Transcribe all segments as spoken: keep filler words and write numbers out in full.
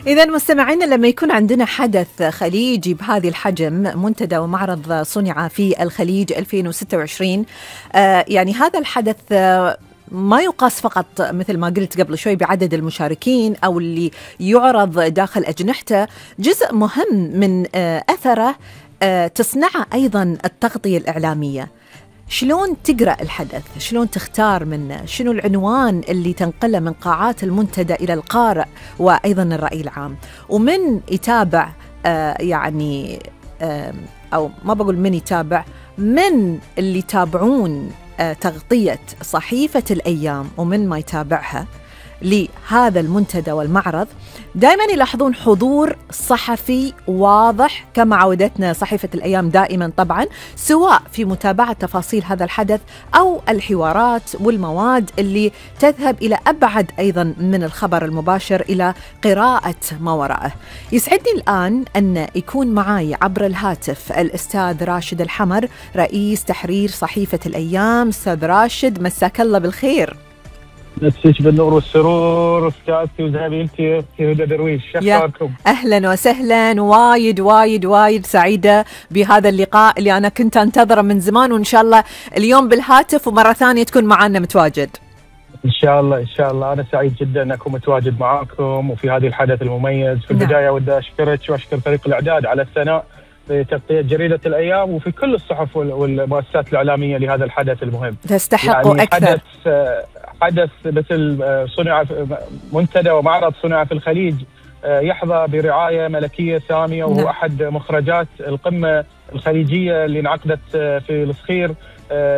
إذا مستمعينا، لما يكون عندنا حدث خليجي بهذه الحجم، منتدى ومعرض صنع في الخليج ألفين وستة وعشرين، آه يعني هذا الحدث آه ما يقاس فقط مثل ما قلت قبل شوي بعدد المشاركين أو اللي يعرض داخل أجنحته. جزء مهم من آه أثره آه تصنعه أيضا التغطية الإعلامية. شلون تقرأ الحدث؟ شلون تختار منه؟ شنو العنوان اللي تنقله من قاعات المنتدى إلى القارئ وأيضا الرأي العام؟ ومن يتابع آه يعني آه أو ما بقول من يتابع، من اللي يتابعون آه تغطية صحيفة الأيام ومن ما يتابعها لهذا المنتدى والمعرض، دائما يلاحظون حضور صحفي واضح كما عودتنا صحيفة الأيام دائما طبعا، سواء في متابعة تفاصيل هذا الحدث أو الحوارات والمواد اللي تذهب إلى أبعد أيضا من الخبر المباشر إلى قراءة ما وراءه. يسعدني الآن أن يكون معاي عبر الهاتف الأستاذ راشد الحمر، رئيس تحرير صحيفة الأيام. أستاذ راشد، مساك الله بالخير. مسيك بالنور والسرور استاذتي وزميلتي في هدى درويش، شكركم. اهلا وسهلا، وايد وايد وايد سعيده بهذا اللقاء اللي انا كنت انتظره من زمان، وان شاء الله اليوم بالهاتف ومره ثانيه تكون معنا متواجد. ان شاء الله ان شاء الله. انا سعيد جدا ان اكون متواجد معاكم وفي هذه الحدث المميز. في البدايه نعم. ودي اشكرك واشكر فريق الاعداد على الثناء في تغطية جريدة الأيام وفي كل الصحف والمؤسسات الإعلامية لهذا الحدث المهم. تستحقوا يعني أكثر. حدث حدث مثل صنع منتدى ومعرض صنع في الخليج يحظى برعاية ملكية سامية، وهو نعم. أحد مخرجات القمة الخليجية اللي انعقدت في الصخير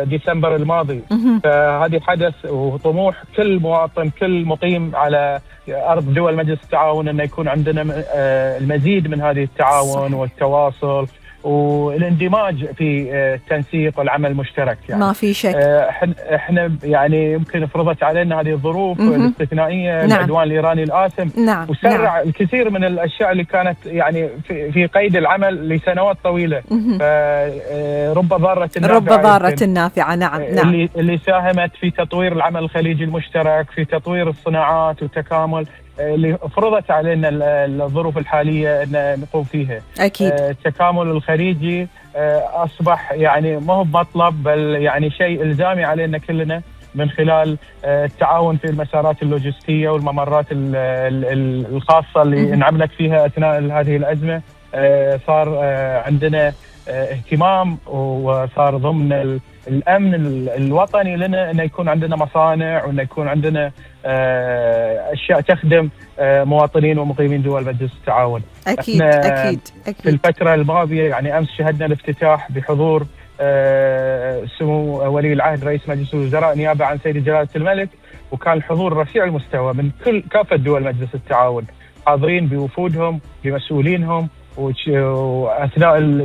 ديسمبر الماضي. فهذه حدث وطموح كل مواطن، كل مقيم على أرض دول مجلس التعاون، أن يكون عندنا المزيد من هذه التعاون صحيح. والتواصل والاندماج في التنسيق والعمل المشترك. يعني ما في شك. احنا يعني يمكن فرضت علينا هذه الظروف الاستثنائيه، نعم. العدوان الايراني الآثم، نعم. وسرع نعم. الكثير من الاشياء اللي كانت يعني في, في قيد العمل لسنوات طويله. فرب ضاره نافعه، رب ضاره نافعه. نعم نعم. اللي اللي ساهمت في تطوير العمل الخليجي المشترك، في تطوير الصناعات والتكامل اللي فرضت علينا الظروف الحالية أن نقوم فيها. أكيد. التكامل الخليجي أصبح يعني ما هو مطلب، بل يعني شيء إلزامي علينا كلنا، من خلال التعاون في المسارات اللوجستية والممرات الخاصة اللي انعملت فيها أثناء هذه الأزمة. صار عندنا اهتمام وصار ضمن الأمن الوطني لنا أن يكون عندنا مصانع وأن يكون عندنا أشياء تخدم مواطنين ومقيمين دول مجلس التعاون. أكيد أكيد أكيد. في الفترة الماضية يعني أمس شهدنا الافتتاح بحضور سمو ولي العهد رئيس مجلس الوزراء نيابة عن سيدي جلالة الملك، وكان الحضور رفيع المستوى من كل كافة دول مجلس التعاون، حاضرين بوفودهم بمسؤولينهم، وأثناء